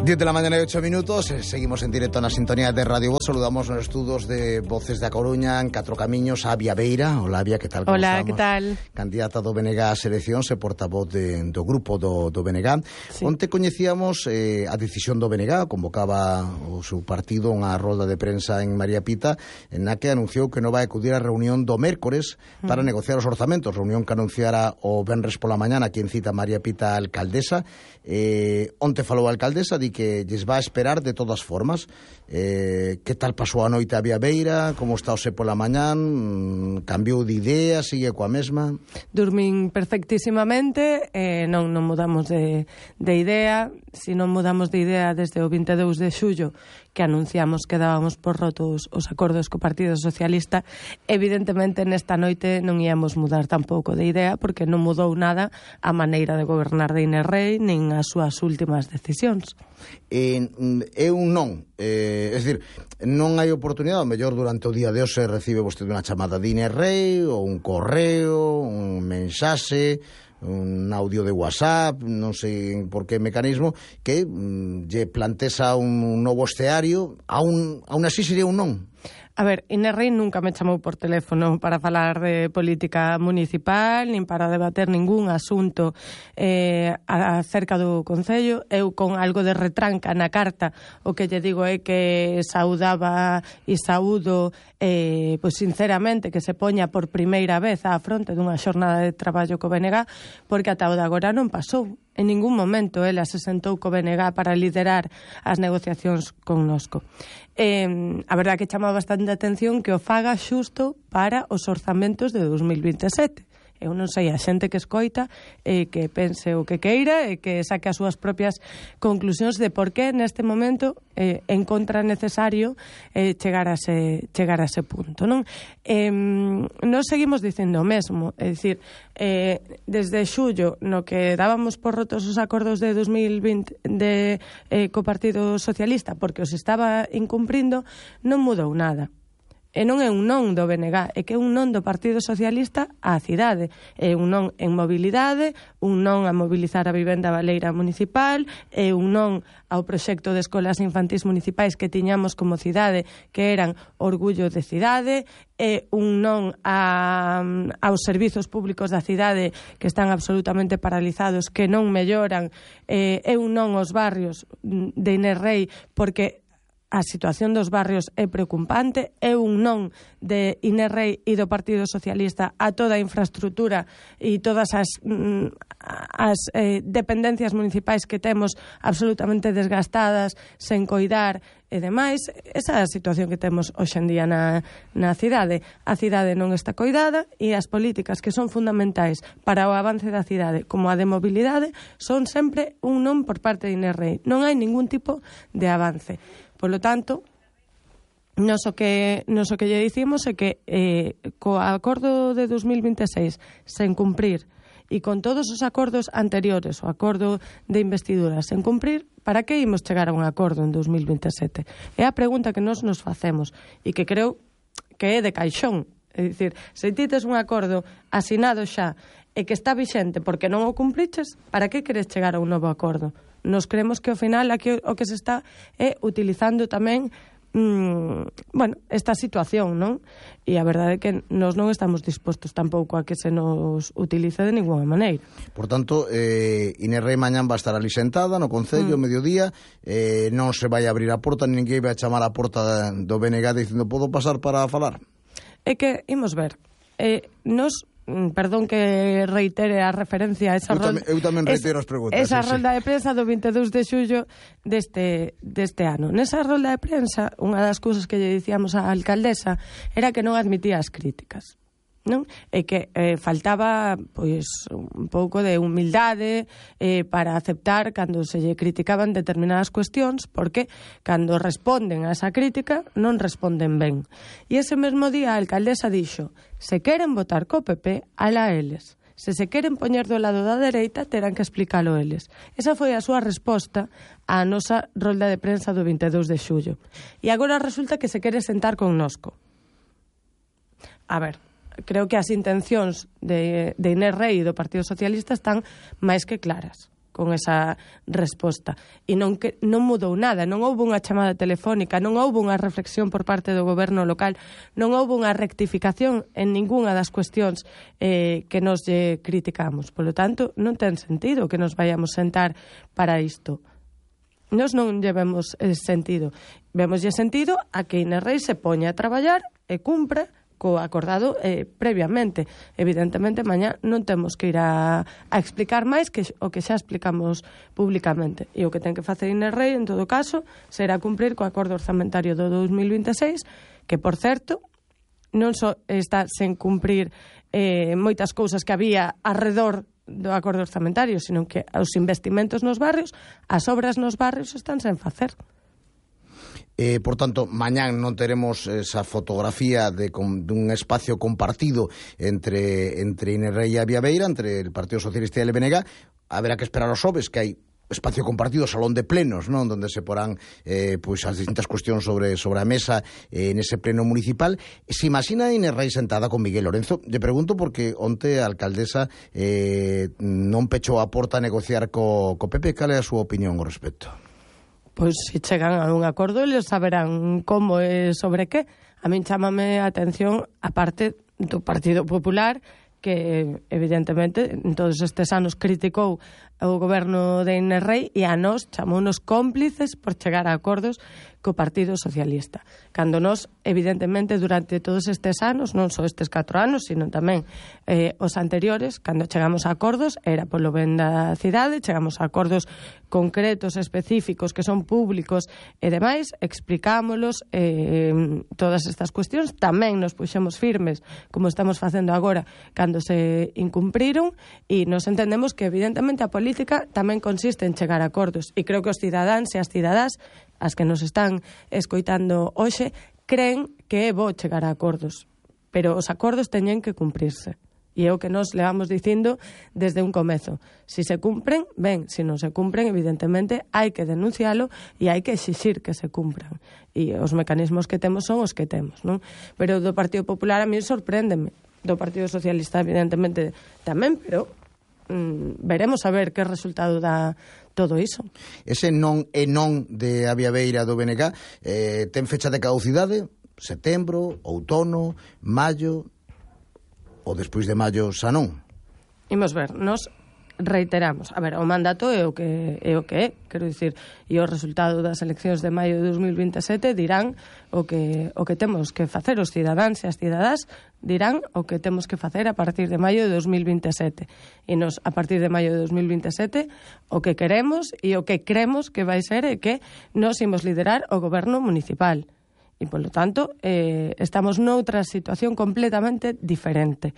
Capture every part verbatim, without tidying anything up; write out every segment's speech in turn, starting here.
diez de la mañana y ocho minutos, seguimos en directo na sintonía de Radio Voz. Saludamos nos estudos de Voces da Coruña en Catro Camiños a Avia Beira. Hola, Avia, que tal? Hola, que tal? Candidata do B N G ás eleccións e portavoz de, do grupo do, do B N G. Sí. Onte coñecíamos eh, a decisión do B N G, convocaba o seu partido unha rolda de prensa en María Pita, en na que anunciou que non vai acudir á reunión do mércores para mm. negociar os orzamentos, reunión que anunciara o venres pola mañana, quien cita María Pita, a alcaldesa. Eh, onte falou a alcaldesa, di que lles va a esperar de todas formas. Eh, que tal pasou a noite a Avia Beira? Como está o se pola mañán? Cambiou de idea? Sigue coa mesma? Dormín perfectísimamente, eh, non, non mudamos de, de idea. Se non mudamos de idea desde o vinte e dous de xullo, que anunciamos que dábamos por rotos os acordos co Partido Socialista, evidentemente nesta noite non íamos mudar tampouco de idea, porque non mudou nada a maneira de gobernar de Inés Rei, nin as súas últimas decisións. Eh, é un non, eh, é dicir, non hai oportunidade, ao mellor durante o día de hoxe recibe vostede unha chamada de Inés Rei, ou un correo, un mensaxe, un audio de WhatsApp, non sei por que mecanismo, que mm, lle plantesa un novo escenario, aún, aún así sería un non. A ver, Inés Rei nunca me chamou por teléfono para falar de política municipal, nin para debater ningún asunto eh, acerca do Concello. Eu, con algo de retranca na carta, o que lle digo é que saudaba e saúdo eh, pois sinceramente que se poña por primeira vez á fronte dunha xornada de traballo co B N G, porque ata o de agora non pasou. En ningún momento ela se sentou co B N G para liderar as negociacións connosco. Eh, a verdade que chama bastante a atención que o faga xusto para os orzamentos de dos mil vinte e sete. Eu non sei, a xente que escoita eh, que pense o que queira e que saque as súas propias conclusións de por que neste momento eh, encontra necesario eh, chegar a ese, chegar a ese punto, non? Eh, nos seguimos dicendo o mesmo, é dicir, eh, desde xullo no que dábamos por rotos os acordos de dos mil vinte de, eh, co Partido Socialista porque os estaba incumprindo, non mudou nada. E non é un non do B N G, é que é un non do Partido Socialista á cidade. É un non en mobilidade, un non a mobilizar a vivenda baleira municipal, é un non ao proxecto de escolas infantís municipais que tiñamos como cidade, que eran orgullo de cidade, é un non a, aos servizos públicos da cidade que están absolutamente paralizados, que non melloran, é, é un non aos barrios de Inés Rei, porque a situación dos barrios é preocupante, é un non de Inés Rei e do Partido Socialista a toda a infraestructura e todas as, as eh, dependencias municipais que temos absolutamente desgastadas, sen coidar e demais. Esa é a situación que temos hoxe en día na, na cidade. A cidade non está coidada e as políticas que son fundamentais para o avance da cidade, como a de mobilidade, son sempre un non por parte de Inés Rei. Non hai ningún tipo de avance. Polo tanto, nos o que, nos o que lle dicimos é que eh, co acordo de dos mil vinte e seis sen cumprir e con todos os acordos anteriores, o acordo de investidura sen cumprir, para que imos chegar a un acordo en dos mil vinte e sete? É a pregunta que nos nos facemos e que creo que é de caixón. É dicir, se ti tes un acordo asinado xa e que está vixente porque non o cumpriches, para que queres chegar a un novo acordo? Nos creemos que ao final aquí o que se está é utilizando tamén mmm, bueno, esta situación, non? E a verdade é que nos non estamos dispostos tampouco a que se nos utilice de ninguna maneira. Por tanto, eh, Inés Rei mañán va a estar ali sentada no Concello, mm. mediodía, eh, non se vai a abrir a porta, ninguén vai a chamar a porta do B N G dicindo podo pasar para falar? É que, imos ver, eh, nos... Perdón que reitere a referencia a esa eu, rolda, tam, eu tamén reitero as preguntas. Esa sí, rolda sí. de prensa do vinte e dous de xullo deste, deste ano. Nesa rolda de prensa, unha das cousas que lle dicíamos á alcaldesa era que non admitía as críticas, non? E que eh, faltaba pois un pouco de humildade eh, para aceptar cando se lle criticaban determinadas cuestións, porque cando responden a esa crítica non responden ben. E ese mesmo día a alcaldesa dixo: se queren votar co P P, ala eles. Se se queren poñer do lado da dereita, terán que explicalo eles. Esa foi a súa resposta á nosa rolda de prensa do vinte e dous de xullo. E agora resulta que se quere sentar connosco. A ver, creo que as intencións de, de Inés Rei e do Partido Socialista están máis que claras. con esa resposta. E non, que, non mudou nada, non houve unha chamada telefónica, non houve unha reflexión por parte do goberno local, non houve unha rectificación en ningunha das cuestións eh, que nos lle criticamos. Por lo tanto, non ten sentido que nos vayamos sentar para isto. Nos non llevemos eh, sentido. Vemoslle sentido a que Inés Rei se poña a traballar e cumpra co acordado eh, previamente. Evidentemente, mañá non temos que ir a, a explicar máis que o que xa explicamos públicamente. E o que ten que facer Inés Rei, en todo caso, será cumprir co acordo orzamentario do dos mil vinte e seis, que, por certo, non só está sen cumprir eh, moitas cousas que había arredor do acordo orzamentario, sino que os investimentos nos barrios, as obras nos barrios están sen facer. Eh, por tanto, mañán non teremos esa fotografía de, con, dun espacio compartido entre, entre Inés Rei e a Viabeira, entre el Partido Socialista e el B N G. Haberá que esperar os xoves, que hai espacio compartido, salón de plenos, non, donde se porán eh, pois as distintas cuestións sobre, sobre a mesa eh, nese pleno municipal. Se imagina Inés Rei sentada con Miguel Lorenzo? Lle pregunto porque onte a alcaldesa eh, non pechou a porta a negociar co, co P P. Cal é a súa opinión ao respecto? Pois se chegan a un acordo, eles saberán como e sobre que. A min chámame a atención a parte do Partido Popular, que evidentemente en todos estes anos criticou o goberno de Inés Rei e a nós chamounos cómplices por chegar a acordos co Partido Socialista. Cando nós, evidentemente, durante todos estes anos, non só estes catro anos, sino tamén eh, os anteriores, cando chegamos a acordos, era polo ben da cidade, chegamos a acordos concretos, específicos, que son públicos e demais, explicámolos eh, todas estas cuestións, tamén nos puxemos firmes, como estamos facendo agora, cando se incumpriron, e nos entendemos que, evidentemente, a política tamén consiste en chegar a acordos, e creo que os cidadáns e as cidadás, as que nos están escoitando hoxe, creen que é bo chegar a acordos, pero os acordos teñen que cumprirse. E é o que nos levamos dicindo desde un comezo. Si se cumpren, ben, si non se cumpren, evidentemente, hai que denuncialo e hai que exixir que se cumpran. E os mecanismos que temos son os que temos, non? Pero do Partido Popular a mí sorpréndeme. Do Partido Socialista, evidentemente, tamén, pero mm, veremos a ver que resultado dá todo iso. Ese non e non de a Viabeira do B N G eh, ten fecha de caducidade? Setembro, outono, maio, ou despois de maio xa non? Imos ver, nos reiteramos, a ver, o mandato é o que é o que é, quero dicir, e o resultado das eleccións de maio de dos mil vinte e sete dirán o que o que temos que facer, os cidadáns e as cidadás dirán o que temos que facer a partir de maio de dos mil vinte e sete. E nos, a partir de maio de dos mil vinte e sete, o que queremos e o que cremos que vai ser é que nos imos liderar o goberno municipal. E, polo tanto, eh, estamos noutra situación completamente diferente.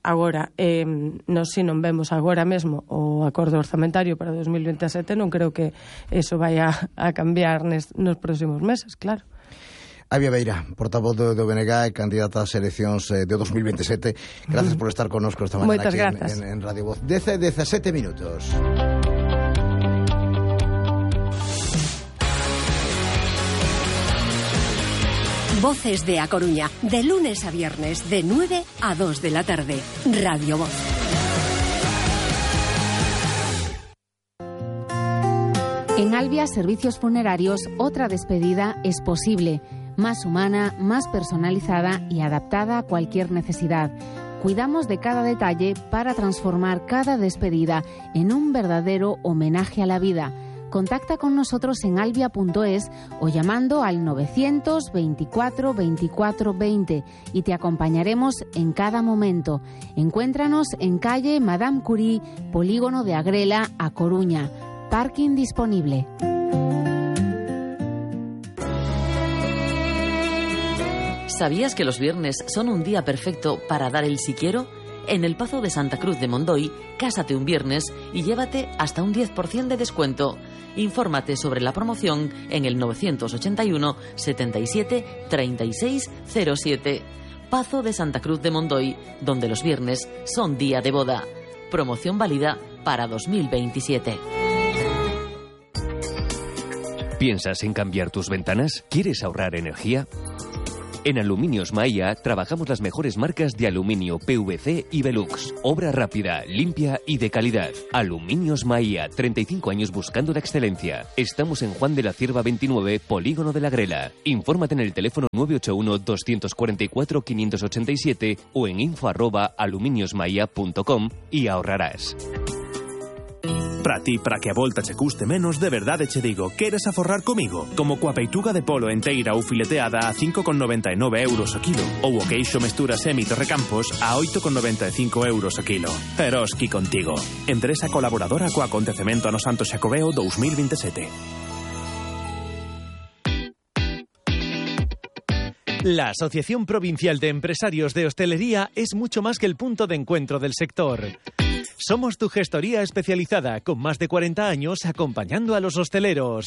Agora, eh, nos si non vemos agora mesmo o acordo orzamentario para dos mil vinte e sete, non creo que eso vaya a cambiar nes, nos próximos meses, claro. A Viabeira, portavoz do, do B N G e candidata ás eleccións eh, de dos mil vinte e sete. Gracias por estar connosco esta mañana aquí en, en, en Radio Voz. dez e dezasete minutos. Voces de A Coruña, de lunes a viernes, de nueve a dos de la tarde. Radio Voz. En Albia Servicios Funerarios, otra despedida es posible. Más humana, más personalizada y adaptada a cualquier necesidad. Cuidamos de cada detalle para transformar cada despedida en un verdadero homenaje a la vida. Contacta con nosotros en albia punto es o llamando al novecientos veinticuatro veinticuatro veinte y te acompañaremos en cada momento. Encuéntranos en calle Madame Curie, Polígono de Agrela, A Coruña. Parking disponible. ¿Sabías que los viernes son un día perfecto para dar el si quiero? En el Pazo de Santa Cruz de Mondoy, cásate un viernes y llévate hasta un diez por ciento de descuento. Infórmate sobre la promoción en el novecientos ochenta y uno setenta y siete treinta y seis cero siete. Pazo de Santa Cruz de Mondoy, donde los viernes son día de boda. Promoción válida para dos mil veintisiete. ¿Piensas en cambiar tus ventanas? ¿Quieres ahorrar energía? En Aluminios Maia trabajamos las mejores marcas de aluminio, P V C y Velux. Obra rápida, limpia y de calidad. Aluminios Maia, treinta y cinco años buscando la excelencia. Estamos en Juan de la Cierva veintinueve, Polígono de la Grela. Infórmate en el teléfono nueve ocho uno, dos cuatro cuatro, cinco ocho siete o en info arroba aluminiosmaia punto com y ahorrarás. Para ti, para que a volta che custe menos, de verdade che digo, queres aforrar comigo? Como coa peituga de polo enteira ou fileteada a cinco con noventa e nove euros o kilo, ou o queixo mestura Semito Recampos a oito con noventa e cinco euros o kilo. Eroski contigo. Empresa colaboradora co acontecemento ano Santo Xacobeo dos mil veintisiete. La Asociación Provincial de Empresarios de Hostelería es mucho más que el punto de encuentro del sector. Somos tu gestoría especializada con más de cuarenta años acompañando a los hosteleros.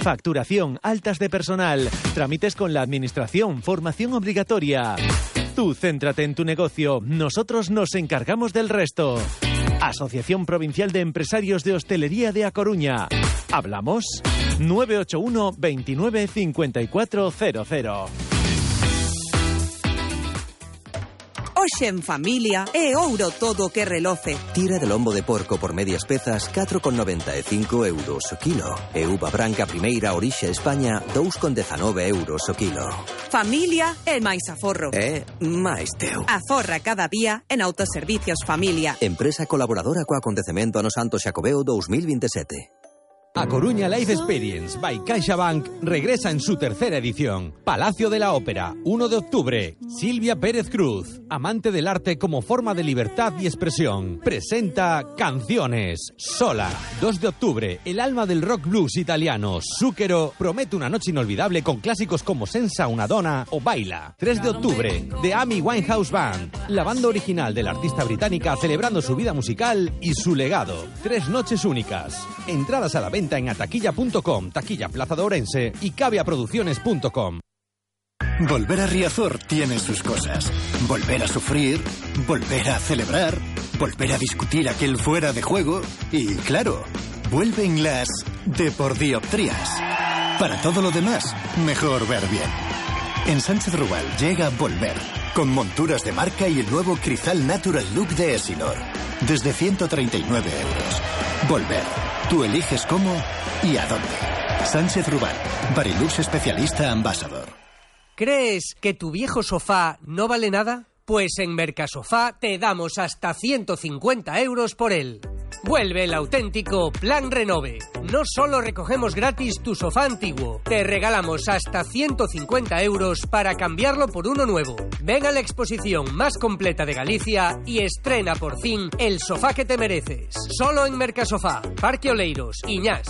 Facturación, altas de personal, trámites con la administración, formación obligatoria. Tú céntrate en tu negocio, nosotros nos encargamos del resto. Asociación Provincial de Empresarios de Hostelería de A Coruña. ¿Hablamos? nueve ocho uno, veintinueve, cincuenta y cuatro cero cero. Hoxe en familia é ouro todo o que reloce. Tira de lombo de porco por medias pezas, catro con noventa e cinco euros o kilo. E uva branca primeira orixe España, dous con dezanove euros o kilo. Familia é máis aforro. É máis teu. Aforra cada día en Autoservicios Familia. Empresa colaboradora co acontecemento ano Santo Xacobeo dos mil veintisiete. A Coruña Life Experience by CaixaBank regresa en su tercera edición. Palacio de la Ópera, uno de octubre. Silvia Pérez Cruz, amante del arte como forma de libertad y expresión. Presenta Canciones, Sola. dos de octubre, el alma del rock blues italiano, Zucchero, promete una noche inolvidable con clásicos como Senza una donna o Baila. tres de octubre, The Amy Winehouse Band, la banda original de la artista británica celebrando su vida musical y su legado. Tres noches únicas. Entradas a la venta en ataquilla punto com, Taquilla Plaza de Ourense y caviaproducciones punto com. Volver a Riazor tiene sus cosas. Volver a sufrir, volver a celebrar, volver a discutir aquel fuera de juego y, claro, vuelven las depordioptrías. Para todo lo demás, mejor ver bien. En Sánchez Rubal llega Volver, con monturas de marca y el nuevo Crizal Natural Look de Esinor. Desde ciento treinta y nueve euros. Volver. Tú eliges cómo y a dónde. Sánchez Rubal, Barilux especialista Ambassador. ¿Crees que tu viejo sofá no vale nada? Pues en Mercasofá te damos hasta ciento cincuenta euros por él. Vuelve el auténtico Plan Renove. No solo recogemos gratis tu sofá antiguo, te regalamos hasta ciento cincuenta euros para cambiarlo por uno nuevo. Ven a la exposición más completa de Galicia y estrena por fin el sofá que te mereces. Solo en Mercasofá, Parque Oleiros, Iñás.